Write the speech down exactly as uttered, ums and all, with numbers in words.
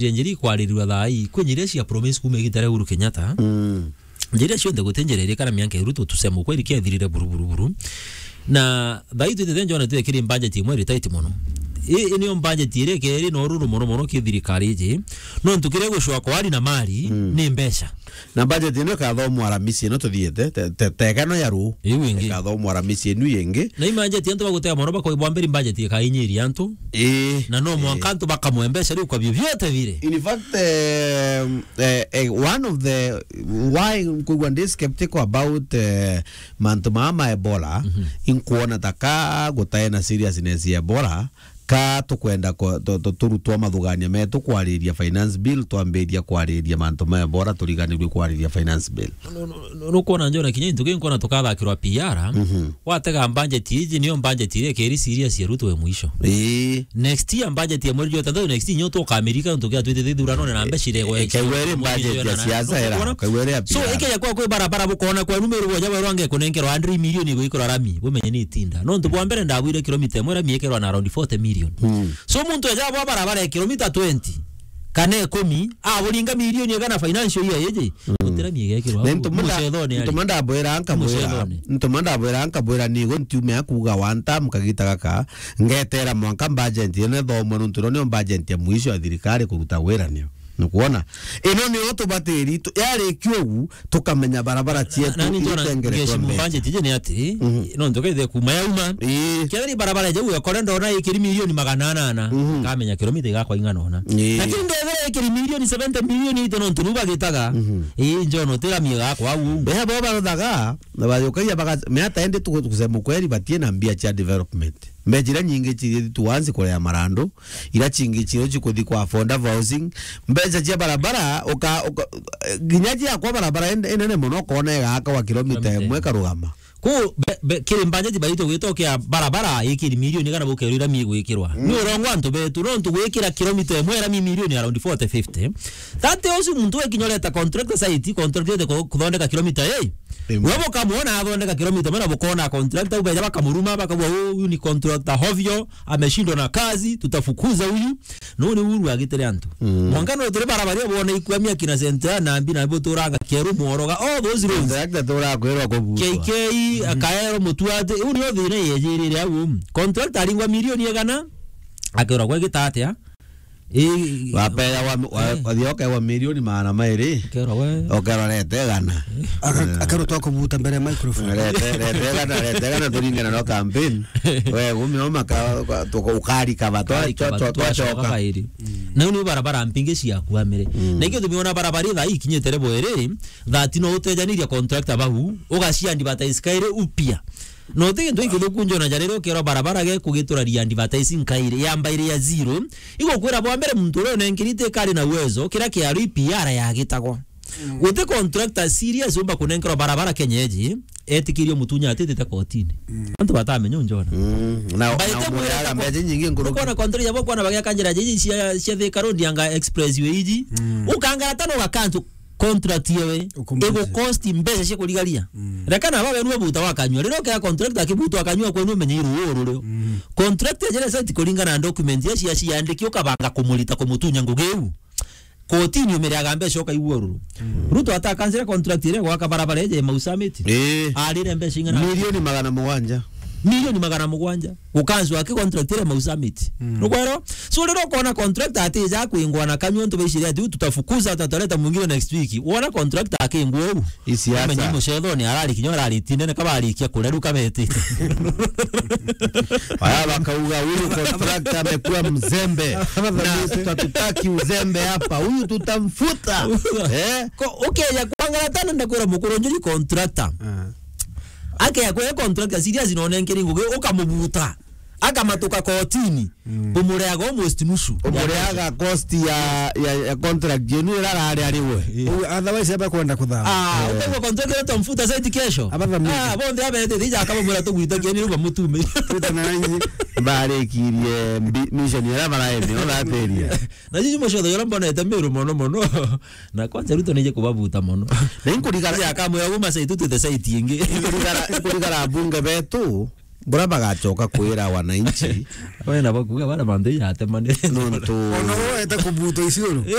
Njiri ikwarirua thaa ii, kwi njiri cia promise kuuma igita ria Uhuru Kenyatta. Mm. Njiri cionthe guti njira irikara mianka iru tu, tuseme ukweli, kiathirire buru, buru, buru. Na thaa ii twitite njona twekiri budget imwe iri tight mono. Ii, ii niyo budget iria ikeri na ururu mono mono ki thirikari iji. Nontu kiria gucwa kwa ari na mari, mm, ni mbeca. Na budget ino ikathomwa Aramisi ino tuthiite, te, te, tega no ya ruu. Iu ingi. Ikathomwa Aramisi inu ingi. Na i budget antu bagutega mono bakoibwa mberi budget ikainyiria antu. Ii. Na no mwanka antu bakamwe mbeca riu kwa vyovyote vile. In fact, um, eh, eh, one of the, why nkwigua ndi skeptical about, eh, mantu maa ma Ebola, mhm, inkuona ta ka gutae na seriousness ya Ebola, ka tukwenda ku-, tu-, tu-, turutwa mathugania metu kwariria finance bill, twambiria kwariria mantu ma Ebola, turiganirue kwariria finance bill. Nu-, nu-, nu-, nukwona njona kinya into kinkwona tukathakirwa P R, mhm, watega budget iji, niyo budget iria ikeri serious ya Ruto we mwisho. Ii. Next year budget ya mweri jwa tandatu, next year nyo tukamirika nontu kia twitite ithuranone na mbeca iregwa. Ikaigua iri budget ya siasa era, ikaigua iri ya P R. So, ikeja kwa kwi barabara bukona kwa numeru boja bwerwa nge kunenkerwa hundred million igwikirwa rami, bumenye ni itinda. Nontu bwa mbere ndabwire kilomita imwe rami ikerwa na around forty million. Mm. So, muntu eja bwa barabara ya kilomita twenty, kana ikumi, aburinga milioni igana financial year iji, mm, gutira miega ikirwa. Na ntumanda, mucethone ari. Ntumanda bwira nkamwira, mucethone. Ntumanda bwira nkamwira nigo ntiume akuga one term kagita gaka, ngetera mwanka budget ino ithomwe nontu ino niyo budget ya mwisho ya thirikari kuruta wira niyo. Nukwona? Ino niyo tubatiri tu-, yarikio ugu, tukamenya barabara cietu. Na, na ni njona itengeretwe ngeshi mbeca. Mubanje tije ni ati, mhm, no ndoke the kuma yauma. Ii. Kethira barabara jau yakore ndona ikiri milioni magana anana, mhm, nkamenya kilomita igakwa ing'ana ona. Ii. Lakini ndethira ikiri milioni seventy million ite no ntu bagitaga. Mhm. Ii, njono tira miega kwa u. Beha bo barothaga, na bayokagia baga-, miata ende tu-, kusema ukweli batie na mbia cia development. Mbeca iria nyingi ciri tu once kurea marandu, iria cingi cio cikuthi kwa affordable housing, mbeca cia barabara, uka, uka, nginya cia kwa barabara ene-, enene mono, ukona igaka wa kilomita. Kilomita imwe imwe. Karugama. Ku, be, be, kiri budget baitu gwitokea barabara, ikiri milioni kana bukerwira mi gwikirwa. Mm. Ni urongo antu betu, no ntu gwikira kilomita imwe era mi milioni around forty, fifty. That tells you muntu wekinya ureta contractor site, contractor ku-, kuthondeka kilomita, hey, imwe. Wewe ukamwona athondeka kilomita imwe na bukona contractor, ubeja bakamuruma, bakauga, "Oh, huyu ni contractor hovyo, ameshindwa na kazi, tutafukuza huyu." No ni uru agitire antu. Mm. Mwanka no tiri barabara bwona ikwamia kina Central na mbi na buturanga Keru Mworoga, all those roads. Contractor turakwirwa kubutwa. K K, mm, Akaero Mutuate, u ni thina yejirire au. Contractor aringwa milioni igana, akerwa gwe gitatia. Ii, wapewa wa, wa, eh, wathi okewa milioni magana mairi, ukerwa we. Ukerwa rete igana. Aka-, eh, akarutwa kubuta mbere ya microphone. Rete, rete igana, rete igana turingana no campaign. We, gumi no maka, tuka-, ukarikava, twa-, ukarikava, twa-, twa-, twacoka twacoka. Kairi. Mm. Na ni barabara mpingi cia kuamire. Mm. Na ikio tumiona barabara itha ikinyite rebo iri, that no utejaniria contractor bau, ugacia advertise kairi upya. No ti gintu gikithuku njona ja riria ukerwa barabara ge kugitura ria advertising kairi, yamba iri ya zero. Igukwira bwa mbere muntu uria unenkirite kari na uwezo, kira kiari P R yagitagwa. Mm. Guti contractor serious umba kunenkerwa barabara Kenya iji, etikirio mutunya atitite kotini. Mm. Antu batamenya unjona. Mm. Na, baite na mwira mbeca nyingi nkuruki. Ukona contractor yabo kwana bagia kanjira jiji cia, cia Thika Road yanga expressway iji. Mm. Ukangara tano gakantu contract yewe, ukumbuke, igu cost mbeca cia kurigaria. Mm. Reka na bawe nwe buta wakanyua. Riria ukea contract akibuta wakanyua kwenu umenye iru uru rio. Mm. Contract ya jere site kuringana na document ya cia ciandiki ukabanga kumurita kumutunya ngugi iu. Kotini umiriaga mbeca ukaigua ururu. Mm. Ruto ata cancel contract iria gwaka barabara eje Mau Summit. Eh. Arire mbeca ing'ana? Milioni magana mugwanja. Milioni magana mugwanja. Gukanzwa aki contract iria Mau Summit. Mm. Nukwero? So, riria ukona contractor atija kwingwa na kanyua ntu baicire ati, "Tutafukuza, tutaleta mwingine next week." Wona contractor akingwa uu. Isiasa. Umenye mucethoni arari kinya arari tindene kabarikia kuria riu kabetite. Aya bakauga, "Huyu contractor amekuwa mzembe. Na tutatutaki uzembe hapa. Huyu tutamfuta." Eh? Ko, ukeja kwangara tana ndakwira mukuru njuri contractor. Ah. Akeja kwe contractor serious no nenkeri ngugi ukamubuta. Akamatuka kotini. Mm. Umureaga almost nusu. Umureaga cost ya, ya, ya contract yenu ira arari ari we. Eh. Otherwise, aba kwenda kuthama. Ah, eh, ukaigua contract ira tumfuta site kesho. Aba thamiri. Ah, bonthe abete, thija akabamwira tugwitakia ni ruba mutume. Twita na inyi. Barikirie mbi-, mission ira baraene, ona ateria. Na jiji mucetho yora mbonete miru mono mono. Na kwanza Ruto nije kubabuta mono. Na inkurigara. Thija akamwira guma site tutite site ingi. Inkurigara, inkurigara bunge betu. Bura bagacoka kwira wananchi. Wena bakuga bana bantu iyatemane. Nontu ona woete kubuta iciuru.